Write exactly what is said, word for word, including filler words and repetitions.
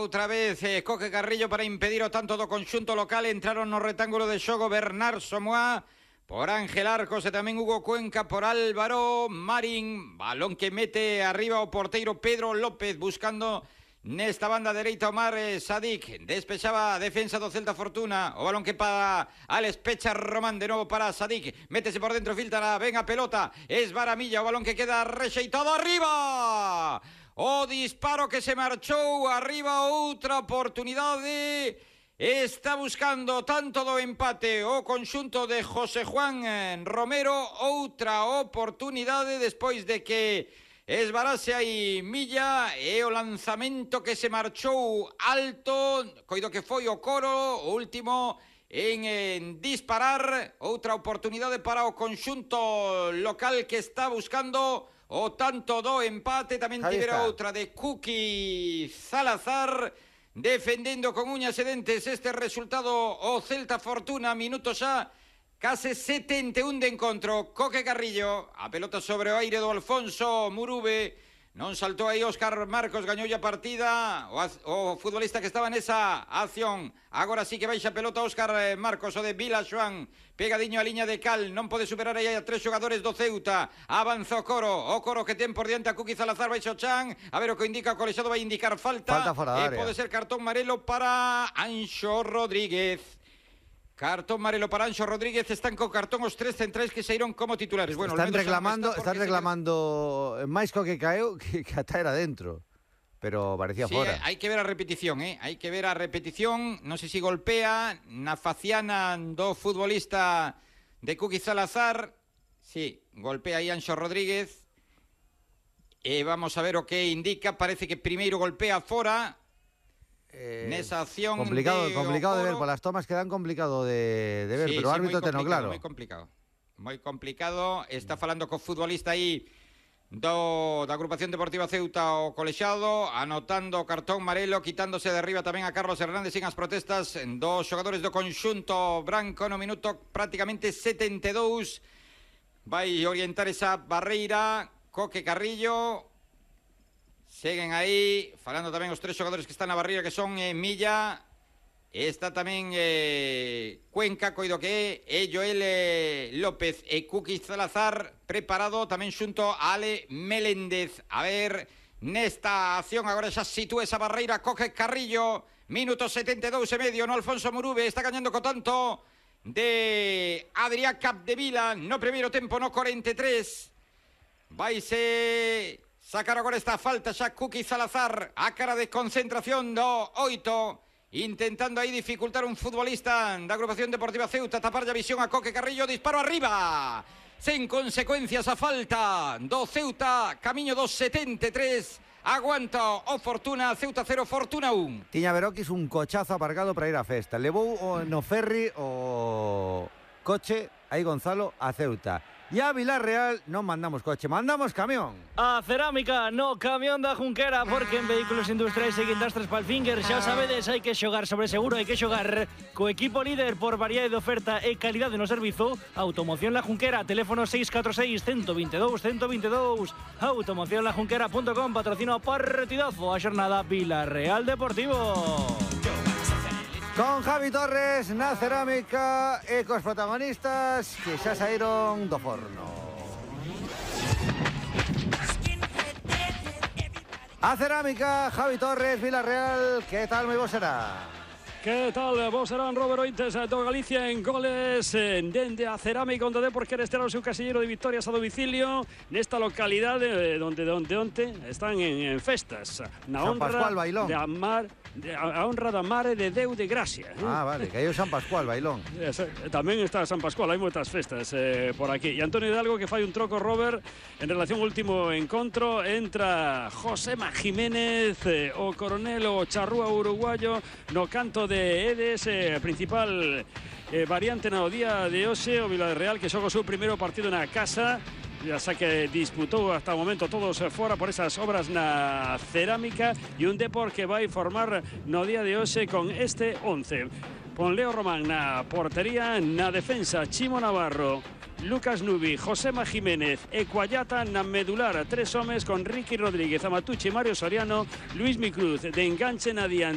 outra vez eh, Coque Carrillo para impedir o tanto do conxunto local. Entraron no retángulo de xogo Bernard Somoa por Ángel Arcos e tamén Hugo Cuenca por Álvaro Marín. Balón que mete arriba o porteiro Pedro López buscando nesta banda dereita Omar eh, Sadik. Despexaba a defensa do Celta Fortuna. O balón que para Alex Pecha Román, de novo para Sadik. Métese por dentro, filtra, ven a pelota. Es Varamilla, o balón que queda rexeitado arriba. O disparo que se marchou arriba, outra oportunidade. Está buscando tanto do empate o conxunto de José Juan Romero. Outra oportunidade despois de que esvarase aí Milla e o lanzamento que se marchou alto. Coido que foi o Coro, o último en, en disparar. Outra oportunidade para o conxunto local que está buscando o tanto do empate. Tamén tivera outra de Kuki Salazar defendendo con uñas e dentes este resultado o Celta Fortuna. Minuto xa case setenta e un de encontro. Coque Carrillo, a pelota sobre o aire do Alfonso Murube. Non saltou aí Óscar Marcos, gañoulle a partida o, o futbolista que estaba nesa acción. Agora sí que baixa a pelota Óscar Marcos, o de Vila Xoán, pegadiño a liña de cal, non pode superar aí a tres xogadores do Ceuta. Avanza o Coro, o Coro que ten por diante a Kuki Salazar, baixo Chan, a ver o que indica o colexado, vai indicar falta, falta fora da área. E pode ser cartón amarelo para Anxo Rodríguez. Cartón amarelo para Anxo Rodríguez. Están con cartón os tres centrais que saíron como titulares. Bueno, están reclamando, está están reclamando máis co que caeu que, que ata era dentro. Pero parecía sí, fora. Hai que ver a repetición, eh? Hai que ver a repetición. Non sei se golpea na faciana do futbolista de Kuki Salazar. Sí, golpea aí Anxo Rodríguez. E vamos a ver o que indica. Parece que primeiro golpea fora. Eh, nesa acción complicado, de complicado de ver, por las tomas quedan complicado de, de ver, sí, pero o sí, árbitro tenó claro. Moi complicado, moi complicado. Está falando co futbolista aí do, da agrupación deportiva Ceuta, o colexado, anotando o cartón amarelo, quitándose de arriba tamén a Carlos Hernández sin as protestas dos xogadores do conxunto branco no minuto prácticamente setenta e dous. Vai orientar esa barreira Coque Carrillo. Seguen aí, falando tamén os tres xogadores que están na barreira, que son eh, Milla, está tamén eh, Cuenca, coido que é, e Joel eh, López e Kuki Salazar, preparado tamén xunto a Ale Meléndez. A ver, nesta acción agora xa sitúa esa barreira Coque Carrillo, minuto setenta e dous e medio no Alfonso Murube, está gañando co tanto de Adrián Capdevila no primeiro tempo, no cuarenta e tres. Vaise sacar agora esta falta xa Kuki Salazar, a cara de concentración do oito, intentando aí dificultar un futbolista da agrupación deportiva Ceuta, tapar a visión a Coque Carrillo, disparo arriba, sen consecuencias a falta do Ceuta, camiño dos setenta e tres, aguanta o Fortuna, Ceuta cero, Fortuna un. Tiña Veroquis un cochazo aparcado para ir a festa, levou o, no ferry o coche aí Gonzalo a Ceuta. E a Vilarreal non mandamos coche, mandamos camión. A cerámica no camión da Junquera, porque en vehículos industriais e guindastres Palfinger, xa sabedes, hai que xogar sobre seguro, hai que xogar co equipo líder por variedade de oferta e calidade no servizo. Automoción La Junquera, teléfono seis catro seis, uno dos dous, uno dos dous. automoción la junquera punto com, patrocina o partidazo a xornada Vilarreal Deportivo. Con Javi Torres na cerámica e cos protagonistas que xa saíron do forno. A cerámica, Javi Torres, Vilarreal, que tal moi bo será? Que tal, vos serán Robert Ointes do Galicia en goles dende a cerámica, onde de por querer estar o seu casillero de victorias a domicilio nesta localidade onde onde onte están en, en festas na San honra Pascual, Bailón. de amar de, a honra da Mare de Deu de Gracia. Ah, vale, que hai o San Pascual, Bailón. Eh, tamén está San Pascual, hai moitas festas eh, por aquí. E Antonio Hidalgo que fai un troco, Robert, en relación ao último encontro. Entra Josema Jiménez, eh, o coronel, o charrúa uruguayo, no canto de Edes, eh, principal eh, variante no día de hoxe. O Vilarreal que xoga o seu primeiro partido na casa, ya xa que disputou hasta o momento todos fora por esas obras na cerámica, e un Depor que vai formar no día de hoxe con este once. Con Leo Román na portería, na defensa Chimo Navarro, Lucas Nubi, Josema Jiménez e Cuayata na medular. Tres homes con Ricky Rodríguez, Amatucci, Mario Soriano, Luis Micruz de enganche na diante.